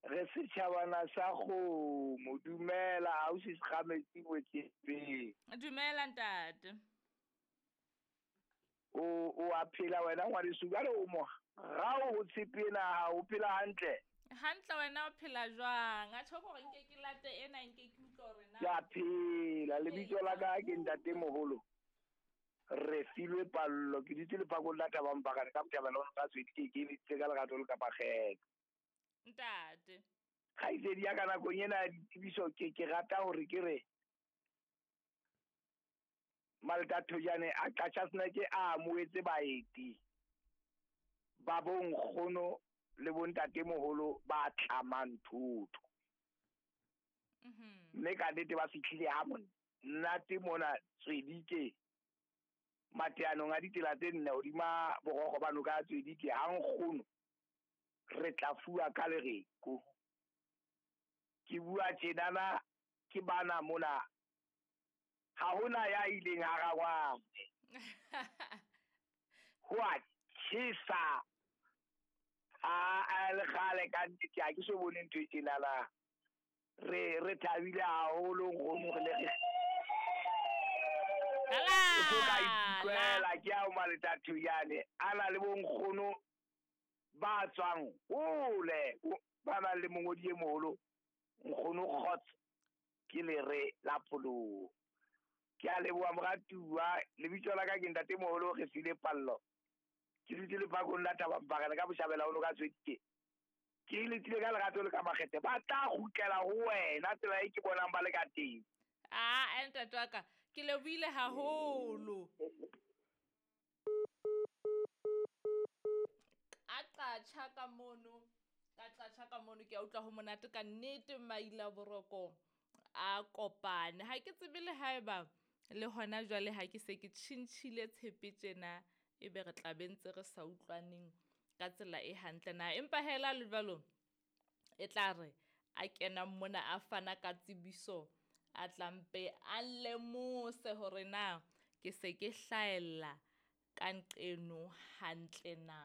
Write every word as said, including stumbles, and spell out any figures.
Re setjhabana sa kgomo. Dumela ausi Sekgametsi Botshepeng. Dumela ntate. O o a phela wena ngwaneso, jwale o mo rao ho tshepe ena, o phela hantle? Hantle, wena o phela jwang? A tjho hore nke ke late ena, nke ke utlwe hore na. Ke a phela. Lebitso la ka ke ntate moholo Re filwe Pallo. Ke dutse lephakong la Thabampakane ka Botjhabela ho ka Tswedi, ke ekeditse ka lerato le ka makgetlo. Ntate. Kgaitsedi ya ka nakong ena ya ditsebiso ke ke rata hore ke re Malta Thojane a Qacha's Nek a amohetse baeti ba bonkgono le bontate moholo ba tlamang thotho. Mhm. Mme ka nnete ba fihlile ha monate mona Tswedike mateanong a ditsela tse nne hodima borokgo ba noka ya Tswedike. Ha nkgono re tla fuwa ka lereko. Ke bua tjenana ke bana mona, ha hona ya ileng ha rangwane. Ho a tjhesa. A a le kgale ka nnete ha ke so bone ntho e tjenana. Re re thabile haholo nkgono, re le re Ala! O so ka ikutlwela ke ao Maleta Thojane a na le bonkgono ba tswang hole, ba nang le mongodi e moholo nkgono Kgotso ke lere la pholoho. Ke a leboha moratuwa. Lebitso la ka ke ntate moholo Re file Pallo. Ke dutse lephakong la Thabampakane ka Botjhabela ho noka Tswedike. Ke letile ka lerato le ka makgethe. Ba tla kgutlela ho wena tsela e ke bonang ba le ka teng. Ah, ntate wa ka, ke lebohile haholo. A qatjha ka mono, ka qatjha ka mono, ke a utlwa ho monate ka nnete maila boroko a kopane. Ha ke tsebe le haeba le hona jwale ha ke se ke tjhintjhile tshepe tjena, ebe re tla be ntse re sa utlwaneng ka tsela e hantle na. Empa hela le jwalo e tla re a kena mona a fana ka tsebiso, a tla mpe a lemose hore na ke se ke hlahella ka nqeno hantle na.